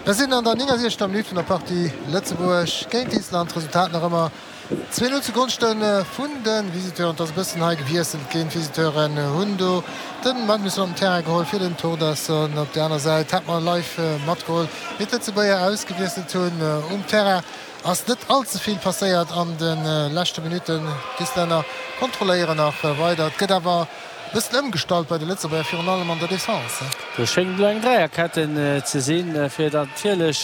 Mir sinn an der 69. Minutt vun der Partie Lëtzebuerg géint Island. D'Resultat nach ëmmer 2, 0 zu Gonschte vun de Visiteuren. Et ass e bëssen hei gewiesselt ginn. D'Visiteuren hunn do de Magnusson op den Terrain geholl fir den Thordarson. Op der aner Säit hat mer live matgeholl, wéi d'Lëtzebuerger ausgewiesselt hunn. Um Terrain ass net all ze vill passéiert an de leschte Minutten. D'Islänner kontrolléieren nach weider. Et gëtt awer e bëssen ëmgestallt bei de Lëtzebuerger, virun allem an der Defense. Do schéngt elo eng Dräierketten ze sinn, fir natierlech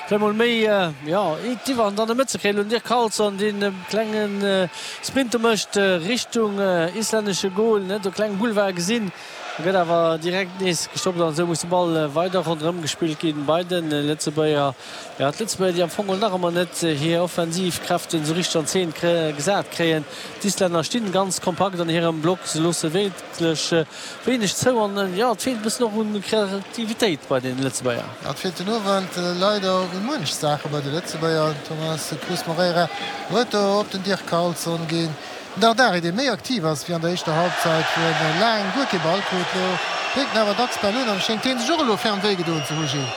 vläicht mol méi, jo, d'Iwwerhand an der Mëtt ze kréien. Elo den Dirk Carlson, deen e klenge Sprint do mécht Richtung islännesche Gol, en huet e klenge Boulevard gesinn, gëtt awer direkt nees gestoppt an esou muss de Ball weider ronderëm gespillt ginn bei de Lëtzebuerger. Jo, d'Lëtzebuerger, déi am Fong geholl nach ëmmer net hir offensiv Kräften esou richteg an Zeen gesat kréien. D'Islänner stinn ganz kompakt an hirem Block, se loosse wierklech wéineg zou an jo, et feelt e bëssen och un Kreativitéit bei den Lëtzebuerger. Et feelt den Owend leider u muench Saache bei de Lëtzebuerger. Den Thomas Cruz Moreira huet do op den Dirk Carlson ginn. Den Dardari, dee méi aktiv ass wéi an der éischter Halbzeit, wou en laang guer kee Ball krut. Lo dréckt en awer dacks d'Bäll un an schéngt hien sech och elo ferm wéi gedoen ze hu, Gilles.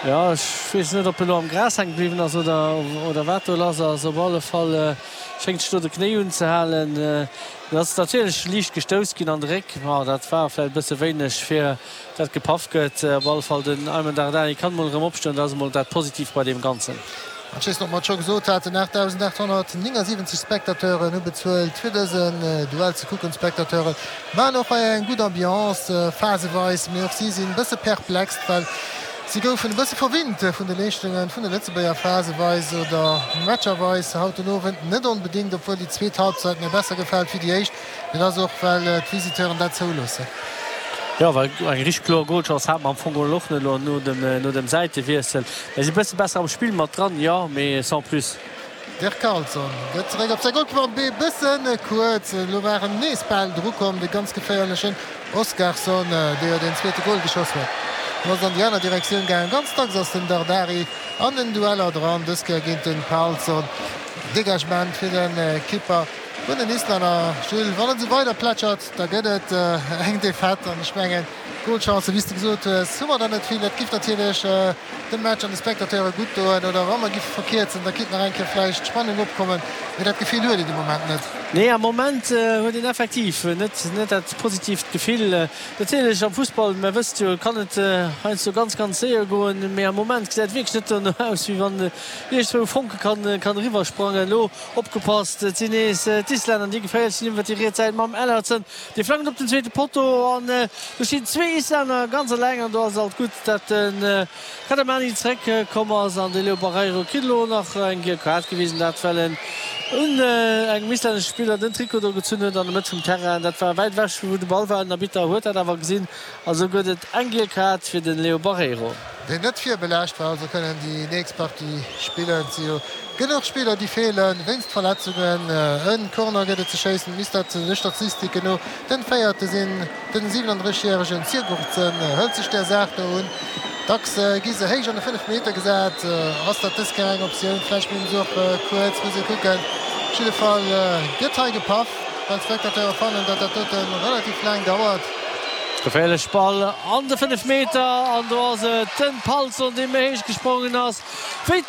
Jo, ech weess net, ob en elo am Gras hänke bliwwen ass oder oder wat do lass ass. Op alle Fall schéngt sech do de Knéi unzehalen. En ass natierlech liicht gestouss ginn an de Réck. Ma dat war vläicht e bësse wéineg fir dat gepaff gëtt. Op alle Fall den Aymen Dardani kann emol erëm opstoen, dat ass emol dat Positiivt bei deem Ganzen. An ech weess net, ob mer et scho gesot haten, 8.879 Spectateuren hu bezuelt fir dësen Duell ze kucken. D'Spectateure maachen och hei eng gutt Ambiance phaseweis, mee och si sinn e bësse perplex, well si goufen e bësse verwinnt vun de Leeschtunge vun de Lëtzebuerger phaseweis oder matcherweis haut den Owend net onbedéngt, obwuel déi zweet Halbzeit mir besser gefält wéi déi éischt. Mee dat ass och, well d'Visiteuren dat zouloossen. Jo, well eng richteg kloer Golchance hate mer am Fong och net elo no dem Säitewiessel. Mir si bësse besser am Spill mat dran, jo, mee sans plus. Dirk Carlson gëtt zeréck op säi Golkipp an e bësse kuerz. Elo waren nees bal dru komm, de ganz geféierlechen Oskarsson, dee jo deen zweete Gol geschoss huet. Lo ass et an déi aner Direktioun gaangen. Ganz dacks ass den Dardari an den Dueller dran, dës Kéier géint de Palsson. Degagement fir de Kipper. Vun den Islänner, Jules. Wann et esou weider plätschert, da gëtt et eng Defaite. An ech mengen, Golchancen, wéi s de gesot hues, hu mer der net vill. Dat giff natierlech dem Match an de Spectateure gutt doen. Oder wa mer giffe verkierzen, da kinnt nach eng Kéier vläicht Spannung opkommen. Mee dat Gefill huet een de Moment net. Nee, am Moment huet een effektiv net net dat positiivt Gefill. Natierlech am Fussball, mer wësst jo, kann et heiansdo ganz, ganz séier goen. Mee am Moment gesäit et wierklech net dono aus, wéi wann iergendwou e Fonke kann kann eriwwersprangen. Elo Opgepasst, et sinn nees d'Islänner, déi geféierlech sinn iwwer déi riets Säit mam Ellertsen. Dee flankt op den zweete Potto an do stinn zwee Islänner ganz eleng an do ass et alt gutt, dat de Kadamani zeréck komm ass an de Leo Barreiro kritt elo nach eng giel Kaart gewisen, dat well en un engem islännesche Spiller den Trikot do gezunn huet an der Mëtt vum Terrain. Dat war wäit ewech vu wou de Ball war, den Arbitter huet dat awer gesinn a sou gëtt et eng giel Kaart fir de Leo Barreiro. Deen net virbelaascht war, also kënnen déi nächst Partie spillen. Et si jo genuch Spiller déi feelen wéinst Verletzungen. E Corner gëtt et ze schéissen, et misst dat de Statistiken no den véierte sinn. Den 37 järegen Sigurdsson hëlt sech där Saach do un. Dacks gi se héich an de 5 Meter gesat. Ass dat dës Kéier eng Optioun? Vläicht bleiwen se och kuerz, muss ee kucken. Op jidde Fall gëtt hei gepaff, well d'Spectateure fannen, datt dat dote relativ laang dauert. Geféierlech Ball an de 5 Meter an do ass et den Palsson dee méi héich gesprongen ass wéi.